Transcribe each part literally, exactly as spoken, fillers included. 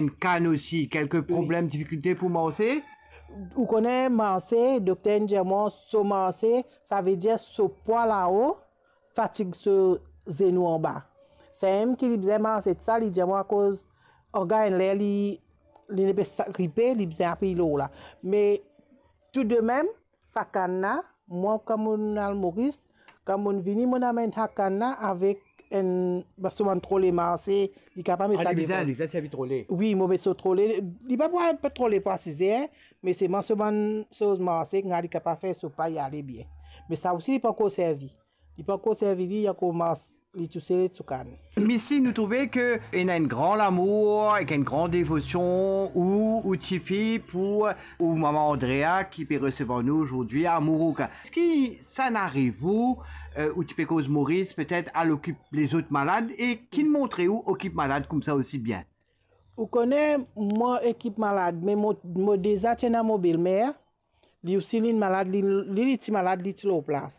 Enn kann osi, kelke problem, difikilte pou marse? Ou kone marse, dokter inn dir mwa, so marse, savedir so pwa lao fatig so zenou anba. Samem ki li bizin marse sa, li dir mwa akoz anga enn ler li, li nepli sa gripe, li bizin apiy lor la. Me toudemem, sa kann la, mwa kan mo'nn al Moris, kan mo'nn vini, mo'nn amenn sa kann la avek enn, so bann trole marse, li kapav met sa devan. Li bizin, li bizin servi trole. Wi, mo met so trole, li pa pou al trole pou asize, me selman so bann soz marse, li kapav fer so pay ale bien. Me sa osi li pankor servi. Li pankor servi li, li ankor mars li tousel so kann. Misi, nou trouve ke ena enn gran lamour ek enn gran devosion ou, ou tifi pou ou mama Andrea ki pe resevwar nou azordi a Mourouk. Eski sa inn ariv ou, eh, ou ti pe koz Moris, petet al okip lezot malad, e ki'nn montre ou okip malad koumsa osi bien? Ou kone, mwa ekip malad, me mo, mo deza ti ena mo belmer, li osi li'nn malad, li, li, li ti malad, li ti lor plas.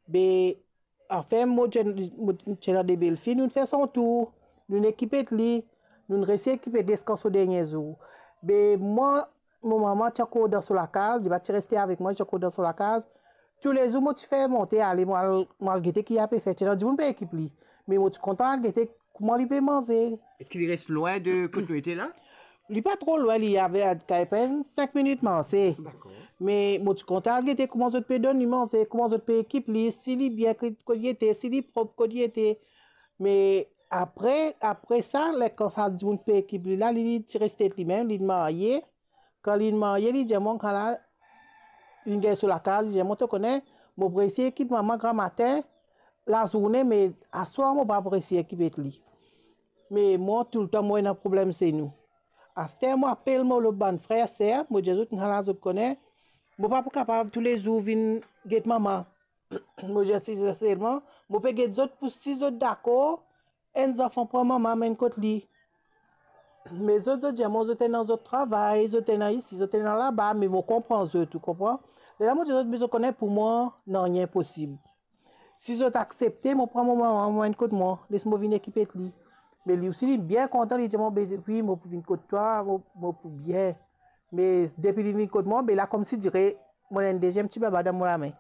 Be, anfin, mo ti, mo ti ena de belfi, nou'nn fer son tour, nou'nn ekip li, nou'nn resi ekip ziska so dernie zour. Be mwa, mo mama ti ankor dan so lakaz, li pa ti reste avek mwa, li ti ankor dan so lakaz. Toulezour mo ti fer monte ale, mo al, mo al gete ki li pe fer. Ti ena dimoun pe ekip li, me mo ti kontan al gete kouma li pe manze. Eski li res lwin de kot nou ete la? Li pa tro lwin, li ave a, kay pena sink minit marse. Dakor. Me mo ti kontan al gete kouma zot pe donn li manze, kouma zot pe ekip li, si li bien kot, kot li ete, si li prop kot li ete. Me apre, apre sa, ler kan sa dimoun pe ekip li la, li, li ti res tet limem, li'nn marye. Kan li'nn marye, li dir mwa, kan la, li'nn gagn so lakaz, li dir mwa, to kone, mo pou resi ekip mama gramatin, lazourne, me aswar mo pa pou resi ekip li. Me mwa, toultan mo ena problem zenou. Aster mo apel mo lot bann frer, ser, mo dir zot, kan la zot kone, mo pa pou kapav toulezour vinn get mama. Mo dir sinserman, mo pe get zot pou si zot dakor, enn zanfan pran mama, amenn kot li. Me zot, zot dir mwa, zot ena zot travay, zot ena isi, zot ena laba, me mo konpran zot, ou konpran? Lerla mo dir zot, be zot kone pou mwa, nanye inposib. Si zot aksepte, mo pran mo mama, mo amenn kot mwa, les mo vinn ekip li. Me li osi, li bien kontan, li dir mwa, be wi, mo pou vinn kot twa, mo, mo pou bien. Me depi li vinn kot mwa, be la koumsidire, mo ena enn deziem ti baba dan mo lame.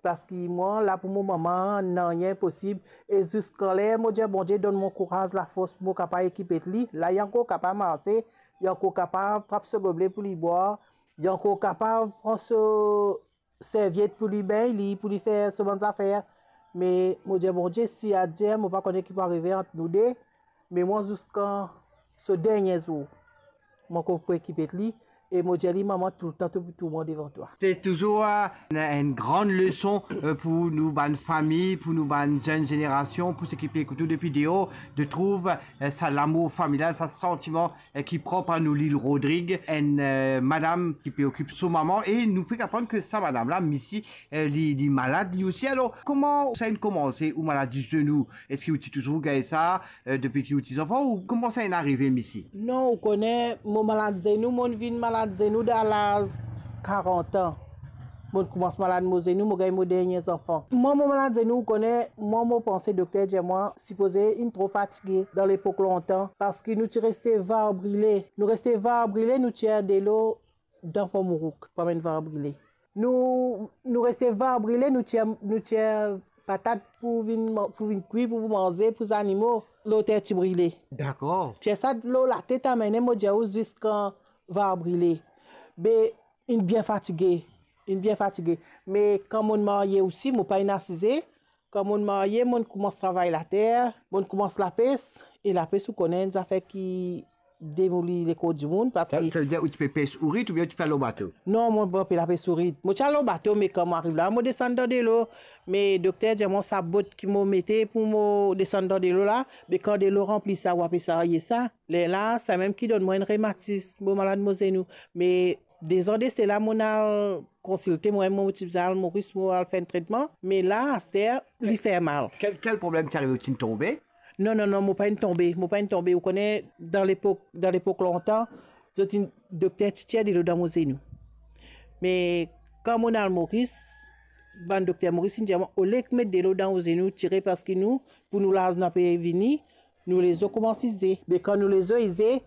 Parski mwa, la pou mo mama, nanye inposib. E ziska ler mo dir Bondie donn mwa kouraz, lafors pou mo kapav ekip li, la li ankor kapav marse, li ankor kapav trap so goble pou li bwar, li ankor kapav pran so serviet pou li bengn li, pou li fer so bann zafer. Me mo dir Bondie, si Adye, mo pa kone ki pou arive ant nou de, me mwa ziska so dernie zour, mo ankor pou ekip li, e mo dir li, mama, toultan to pou tourman devan twa. Se touzour, eh, enn, enn gran leson, eh, pou nou bann fami, pou nou bann zenn zenerasion, pou seki pe ekout nou depi deor, de trouv, eh, sa lamour familial, sa santiman, eh, ki prop a nou Lil Rodrig, enn, eh, madam ki pe okip so mama, e nou fek aprann ke sa madam la, Misi, eh, li, li malad li osi. Alor, kouma sa inn koumanse, ou maladi zenou? Eski ou ti touzour gagn sa, eh, depi ki ou ti zanfan, ou kouma sa inn arive, Misi? Non, ou kone, mo malad zenou, mo'nn vinn malad zenou dan laz karant an. Mo'nn koumans malad mo zenou, mo gagn mo dernie zanfan. Mwa, mo malad zenou, ou kone, mwa, mo panse dokter dir mwa, sipoze inn tro fatige dan lepok lontan, parski nou ti reste var brile. Nou reste var brile, nou tir delo dan Fo Mourouk, pou amenn var brile. Nou, nou reste var brile, nou tir, nou tir patat pou vinn man-, pou vinn kwi, pou manze, pou zanimo, lor ter ti brile. Dakor. Tir sa lor latet, amene, mo dir ou, ziska var brile. Be, inn bien fatige, inn bien fatige. Me kan mo'nn marye osi, mo pa inn asize. Kan mo'nn marye, mo'nn koumans travay later, mo'nn koumans lapes, e lapes, ou kone, enn zafer ki demouli lekor dimoun, parski... Sa, savedir ou ti pe pes ourit oubien ou ti pe al lor bato? Non, mo pa pe lapes ourit. Mo ti al lor bato, me kan mo ariv la, mo desann dan delo. Me dokter dir mwa sa bot ki mo mete pou mo desann dan delo la, me kan delo ranpli sa, ou apel sa, ye sa. Lerla, samem ki donn mwa enn rematis, mo malad mo zenou. Me dezan de sela, mo'nn al konsilte, mwa, mo ti bizin al Moris, mo al fer enn tretman. Me la, aster, li fer mal. Kel, kel problem ti arive, ou ti'nn tonbe? Non, non, non, mo pa inn tonbe, mo pa inn tonbe. Ou kone, dan lepok, dan lepok lontan, zot inn, dokter ti tir delo dan mo zenou. Me kan mo'nn al Moris, bann dokter Moris inn dir mwa, olie met delo dan ou zenou, tire, parski nou, pou nou lazo pe vini, nou lezo koumans ize. Me kan nou lezo ize,